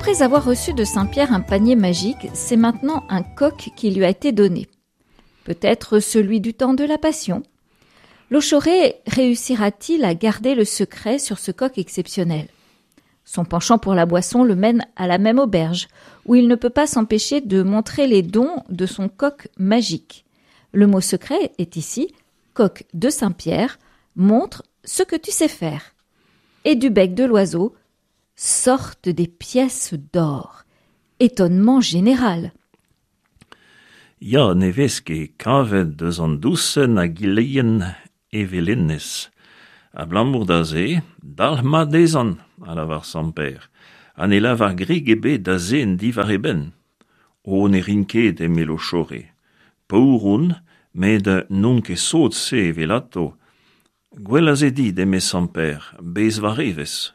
Après avoir reçu de Saint-Pierre un panier magique, c'est maintenant un coq qui lui a été donné. Peut-être celui du temps de la Passion. Lochoré réussira-t-il à garder le secret sur ce coq exceptionnel Son penchant pour la boisson le mène à la même auberge, où il ne peut pas s'empêcher de montrer les dons de son coq magique. Le mot secret est ici coq de Saint-Pierre, montre ce que tu sais faire. Et du bec de l'oiseau sortent des pièces d'or. Étonnement général. Ya, ne vez ket kavet eus an dousenn a gilheien evel hennezh. Abalamour da se, dalc'h mat dezhañ, a lavar Sant Pêr, ha ne lavar grik ebet da zen diwar e benn. O, ne rin ket, eme Lochore. Paour on, met n'on ket sot-se evelato. Gwell a se dit, eme Sant Pêr, bez war evezh.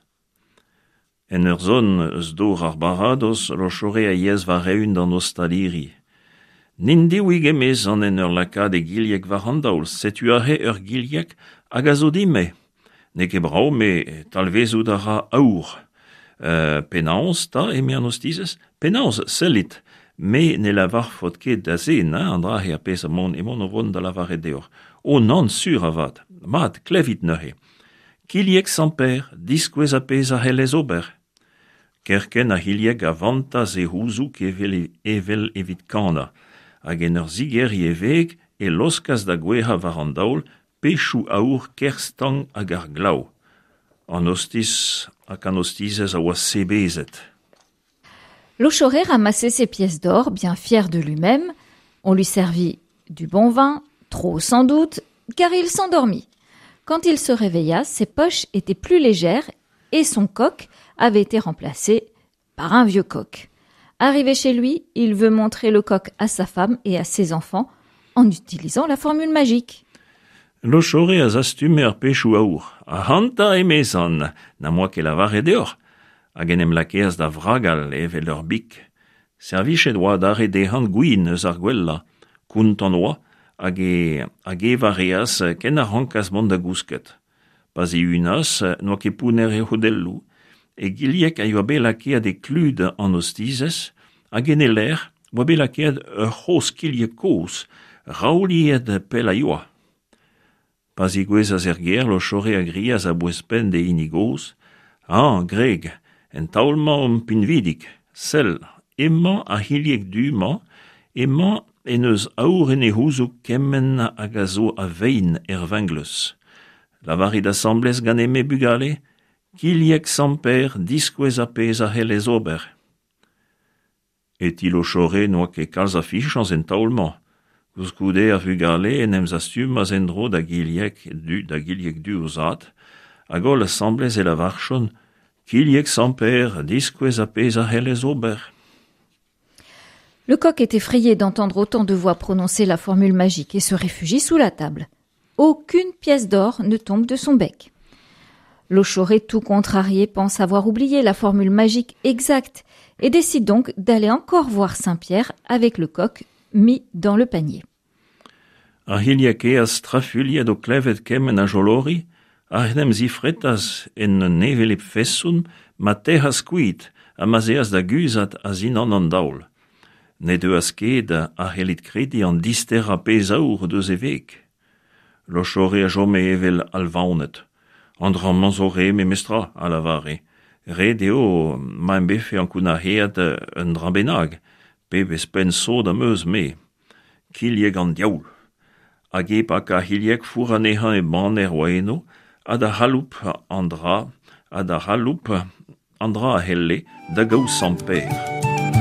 En ur zont eus dor ar baradoz, Lochore a yeas war-eeun d'an ostaliri. N'int-diwig emezan en ur lakaat e gilheg war an daol, setu aze ur gilheg hag a zo din-me. N'eo ket brav, met talvezout a ra aour. Penaos 'ta, eme an ostizez? Penaos, sellit, me ne lavarfot ket da zen, hein, an dra-se ar pezh emaon emaon o vont da lavaret deoc'h. O nann, sur avat. Mat, klevit neuze. Kilheg Sant-Pêr, diskouez ar pezh a c'hellez ober. Kerkent ar c'hilheg a vantas e c'houzoug evel evel evit kanañ, hag en ur zigeriñ e veg e laoskas da gouezhañ war an daol pechoù aour ker stank hag ar glav. An ostiz hag an ostizez a oa sebezet. Lochoré ramassait ses pièces d'or, bien fier de lui-même. On lui servit du bon vin, trop sans doute, car il s'endormit. Quand il se réveilla, ses poches étaient plus légères et son coq avait été remplacé par un vieux coq. Arrivé chez lui, il veut montrer le coq à sa femme et à ses enfants en utilisant la formule magique. Lochore a zastume ar pechoù aour. Ac'hanta, emezan, n'am boa ket lavaret deoc'h. Hag en em lakeas da vragal evel ur big. Servichet oa adarre dezhañ gwin eus ar gwellañ. Kontant oa hag e hag evañ a reas ken a rankas mont da gousket. Pa zihunas n'oa ket pounner e c'hodelloù. E gilheg a yoa bet lakaet e klud an ostizez hag en e lec'h oa bet lakaet ur c'hozh kilheg kozh, raouliet pell a yoa. Pa zigouezhas er gêr, Lochore a grias a-bouez-penn d'e hini gozh: "Hañ, Greg, en taol-mañ omp pinvidik. Sell, emañ ar c'hilheg du-mañ, emañ en deus aour en e c'houzoug kement hag a zo a vein er vengleuz. Lavarit asambles ganin-me bugale, Kilheg Sant-Pêr, diskouez ar pezh a c'hellez ober. E ti Lochore n'oa ket kalz a fichañs en taol-mañ. Koulskoude ar vugale en em zastumas en-dro da Gilheg du da Gilheg du o zad, hag holl asambles e lavarjont Kilheg Sant-Pêr, diskouez ar pezh a c'hellez ober. Le coq est effrayé d'entendre autant de voix prononcer la formule magique et se réfugie sous la table. Aucune pièce d'or ne tombe de son bec. Lochoré, tout contrarié, pense avoir oublié la formule magique exacte et décide donc d'aller encore voir Saint-Pierre avec le coq mis dans le panier. Ar c'hilheg kaezh strafuilhet o klevet kement a jolori a en em zifretas en un hevelep feson ma tec'has kuit ha ma'z eas da guzhat a-zindan an daol. Ne deuas ket, a c'hellit krediñ, an disterañ pezh aour deus e veg. Lochore a chome evel alvaonet. An dra-mañ zo re memestra, a lavare. Ret eo ma em befe ankounac'haet un dra bennak, pebezh penn sot am eus, me. Kilheg an diaoul. Hag e pakañ c'hilheg fourr anezhañ e baner oa eno, ha da c'haloup an dra, ha da c'haloup an dra a c'helle, da gaout Sant-Pêr.